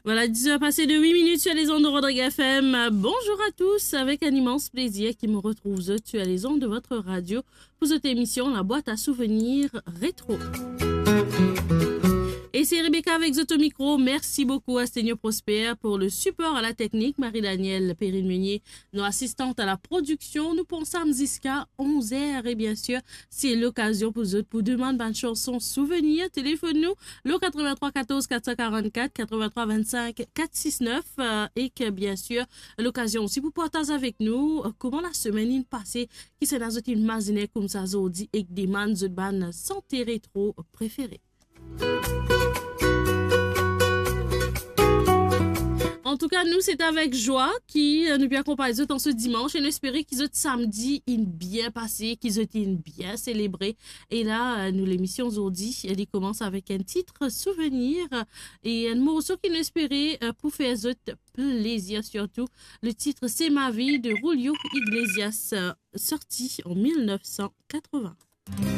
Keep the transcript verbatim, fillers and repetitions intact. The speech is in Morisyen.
Voilà, dix heures passées de huit minutes sur les ondes de Rodrigue F M. Bonjour à tous, avec un immense plaisir ki mo retrouv zot sur les ondes de votre radio pour cette émission La Boîte à Souvenirs Rétro. Et c'est Rebecca avec zot au micro. Merci beaucoup à Seigneur Prosper pour le support à la technique, Marie-Danielle Perrine-Meunier, nos assistantes à la production. Nou pou ansam ziska onze heures et bien sûr, c'est l'occasion pour zot pour demander une chanson souvenir. Téléphone nou, le quatre-vingt-trois quatorze quatre cent quarante-quatre, quatre-vingt-trois vingt-cinq quatre six neuf, euh, et que bien sûr, l'occasion aussi pour partager avec nous, euh, comment la semaine est passée, ki sa zot inn mazine koumsa zordi ek demann zot bann sante retro préféré. Antouka, nou, c'est avec joie ki, euh, nou pe akonpagn zot an se dimanche, e nou espere ki zot samedi inn bien pase, ki zot inn bien selebre. E la, euh, nou, lemision zordi, li koumans avek enn tit souvenir e enn morso ki nou espere, euh, pou fer zot plezir sirtou. Le titre, c'est Ma vie de Julio Iglesias, euh, sorti en mille neuf cent quatre-vingts.